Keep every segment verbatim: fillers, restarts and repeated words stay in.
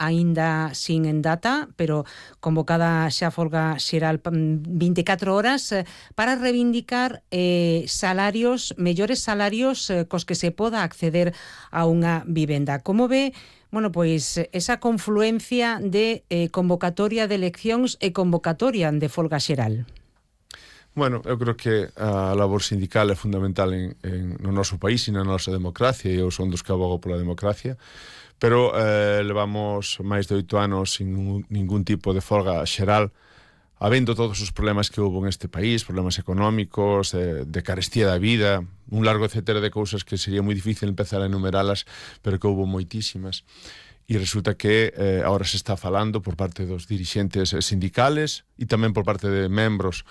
aínda sin en data, pero convocada xa folga xeral vinte e catro horas eh, para reivindicar eh, salarios, mellores salarios eh, cos que se poda acceder a unha vivenda. Como ve, bueno, pois esa confluencia de eh, convocatoria de eleccións e convocatoria de folga xeral? Bueno, eu creo que a labor sindical é fundamental en, en, no noso país e na nosa democracia, e eu son dos que abogo pola democracia, pero eh, levamos máis de oito anos sin ningún, ningún tipo de folga xeral, habendo todos os problemas que houve neste país, problemas económicos, de, de carestía da vida, un largo etcétera de cousas que sería moi difícil empezar a enumeralas, pero que houve moitísimas. E resulta que eh, ahora se está falando por parte dos dirixentes sindicales e tamén por parte de membros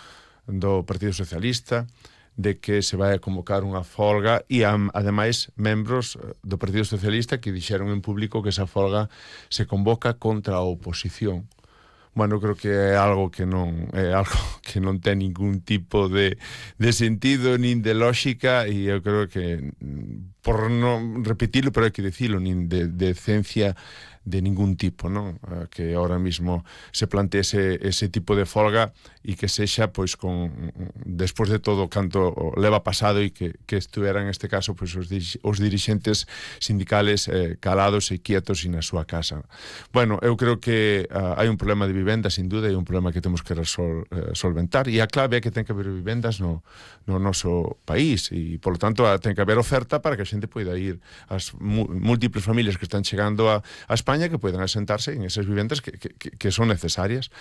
do Partido Socialista de que se vai a convocar unha folga e, ademais, membros do Partido Socialista que dixeron en público que esa folga se convoca contra a oposición. Bueno, creo que é algo que non é algo que non ten ningún tipo de, de sentido nin de lógica, e eu creo que, por non repetirlo, pero hai que dicilo, nin de, de decencia de ningún tipo, non? Que ahora mismo se plantee ese, ese tipo de folga e que sexa, pois, con despois de todo canto leva pasado e que, que estuveran, neste caso, pois, os, os dirixentes sindicales eh, calados e quietos e na súa casa. Bueno, eu creo que uh, hai un problema de vivenda, sin duda, e un problema que temos que resol, eh, solventar, e a clave é que ten que haber vivendas no, no noso país, e, polo tanto, ten que haber oferta para que a xente poida ir, as múltiples familias que están chegando a, a España, que puedan asentarse en esas vivendas que, que, que son necesarias.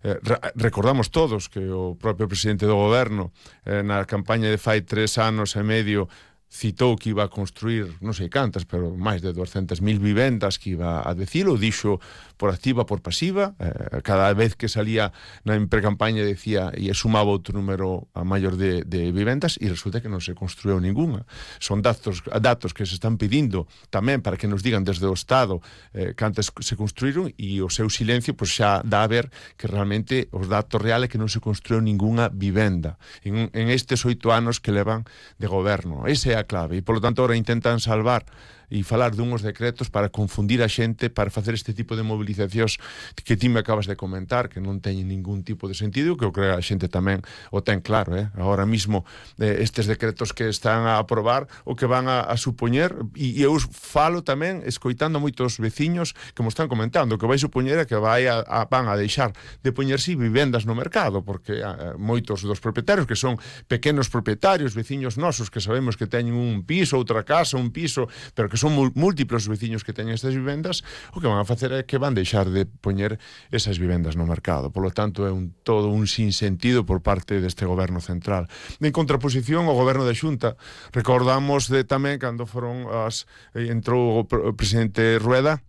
Eh, re, recordamos todos que o propio presidente do goberno eh, na campaña de fai tres anos e medio citou que iba a construir, non sei cantas, pero máis de duzentas mil vivendas, que iba a decilo, dixo por activa, por pasiva, eh, cada vez que salía na precampaña decía e sumaba outro número a maior de, de vivendas, e resulta que non se construiu ninguna. Son datos, datos que se están pedindo tamén para que nos digan desde o Estado eh, cantas se construíron, e o seu silencio pois xa dá a ver que realmente os datos reales que non se construiu ninguna vivenda en, en estes oito anos que levan de goberno. Ese é a clave, e polo tanto ahora intentan salvar e falar dunhos decretos para confundir a xente, para facer este tipo de movilizacións que ti me acabas de comentar, que non teñen ningún tipo de sentido, que eu creo que a xente tamén o ten claro, eh? Ahora mismo eh, estes decretos que están a aprobar o que van a, a supoñer, e, e eu falo tamén escoitando moitos veciños que mo están comentando, que vai supoñer que vai a, a, van a deixar de poñerse vivendas no mercado, porque a, moitos dos propietarios que son pequenos propietarios, veciños nosos que sabemos que teñen un piso, outra casa, un piso, pero que que son múltiplos veciños que teñen estas vivendas, o que van a facer é que van deixar de poñer esas vivendas no mercado. Por lo tanto, é un, todo un sinsentido por parte deste goberno central. En contraposición ao goberno da Xunta, recordamos de tamén cando foron as entrou o presidente Rueda,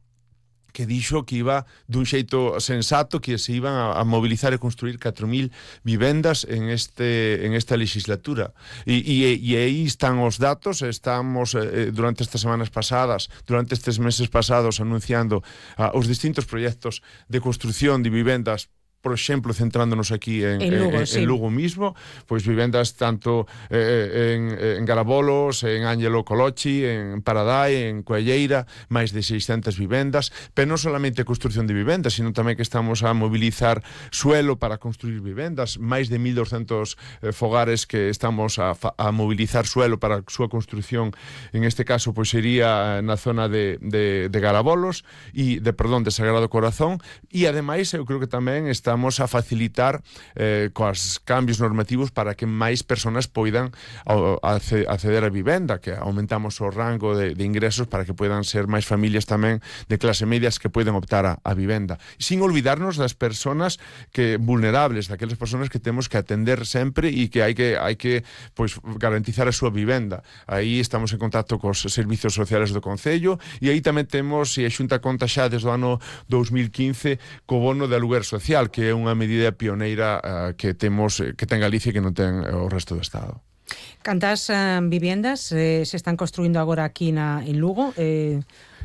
que dixo que iba dun xeito sensato, que se iban a, a mobilizar e construir catro mil vivendas en este en esta legislatura. E, e, e aí están os datos, estamos eh, durante estas semanas pasadas, durante estes meses pasados anunciando ah, os distintos proxectos de construción de vivendas, por exemplo, centrándonos aquí en, en, Lugo, en, sí. en Lugo mismo, pois vivendas tanto eh, en, en Garabolos, en Ángelo Colochi, en Paradai, en Coelleira, máis de seiscentas vivendas, pero non solamente a construción de vivendas, sino tamén que estamos a mobilizar suelo para construir vivendas, máis de mil doscentos eh, fogares que estamos a, a mobilizar suelo para a súa construción, en este caso pois sería na zona de, de, de Garabolos e de, perdón, de Sagrado Corazón, e ademais eu creo que tamén está estamos a facilitar eh, coas cambios normativos para que máis persoas poidan acceder a vivenda, que aumentamos o rango de, de ingresos para que poidan ser máis familias tamén de clase medias que poidan optar a, a vivenda. Sin olvidarnos das persoas que vulnerables, daquelas persoas que temos que atender sempre e que hai que hai que pois garantizar a súa vivenda. Aí estamos en contacto cos servizos sociales do Concello, e aí tamén temos, e a Xunta conta xa desde o ano dos mil quince co bono de aluguer social, que é unha medida pioneira uh, que temos, que ten Galicia e que non ten o resto do Estado. Cantas uh, viviendas eh, se están construindo agora aquí na, en Lugo? Eh...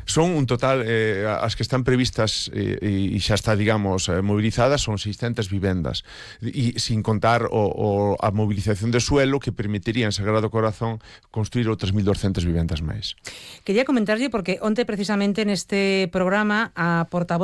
Son un total, eh, as que están previstas eh, e xa está, digamos, eh, movilizadas, son seiscentas vivendas, e sin contar o, o, a movilización de suelo que permitiría en Sagrado Corazón construir outras mil doscentas vivendas máis. Quería comentarlle porque onte precisamente neste programa a portavoz